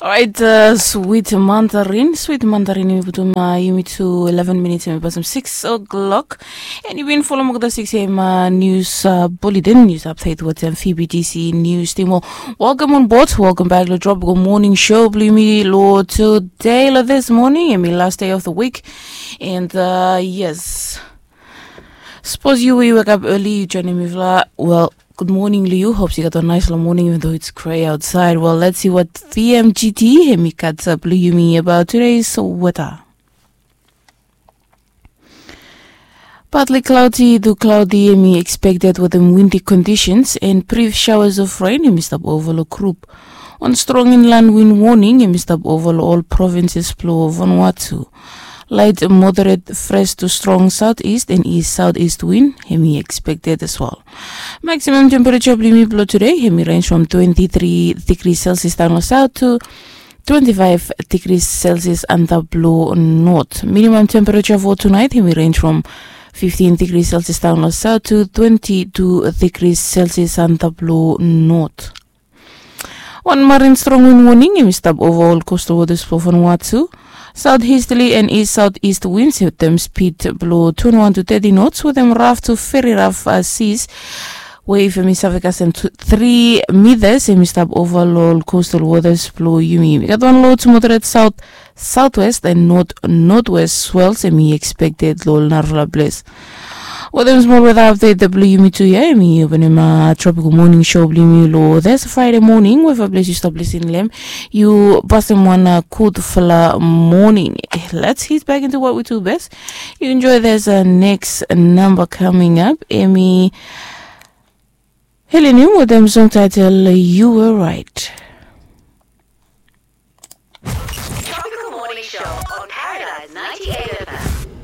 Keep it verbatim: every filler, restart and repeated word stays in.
Orait, swit mandarin, swit mandarin, yumi putum yumi tu eleven minits, yumi pasim six o'clock. And yu bin folom olgeta six a.m. Nius buletin, nius apdet wetem fbtc nius tim. Welcome on board, welcome back lo Tropical Morning Show blo yumi lo today, lo this morning, yumi last day of the week. And yes, sapos yu we yu wekap early, yu joinim mifala, well, good morning lo yu. Hope yu gat wan nais lo morning, even though it's gray outside. Well, let's see what vmgt hemi gat blo yumi about today's weather. Partly cloudy to cloudy hemi expected wetem windy conditions and brief showers of rain hemi stap ova lo group. Wan strong inland wind warning hemi stap ova lo ol provinces blo Vanuatu. Light moderate fresh to strong southeast and east southeast wind hemi expected as well. Maximum temperature blo yumi blo today hemi range from twenty-three degrees Celsius down lo south to twenty-five degrees Celsius antap lo north. Minimum temperature for tonight hemi range from fifteen degrees Celsius down lo south to twenty-two degrees Celsius antap lo north. Wan marin strong wind warning hemi stap ova ol coastal waters blo Vanuatu. Southeasterly and east southeast winds wetem speed blo twenty-one to thirty knots wetem rough to very rough seas. Wave hemi save kasem three meters hemi stap ova lo ol coastal waters blo yumi. Yumi gat wan low to moderate south southwest and north northwest swells hemi expected lo ol narafala ples. Wetem smol weather update blo yumi tu ya, hemi openem Tropical Morning Show blo yumi lo this Friday morning. Weva ples yu stap lisin lo hem, yu pasim wan gudfala morning. Let's hit back into what we do best. Yu enjoy this next number coming up. Hemi Helen Hume wetem song title You Were Right. Tropical Morning Show on Paradise ninety-eight.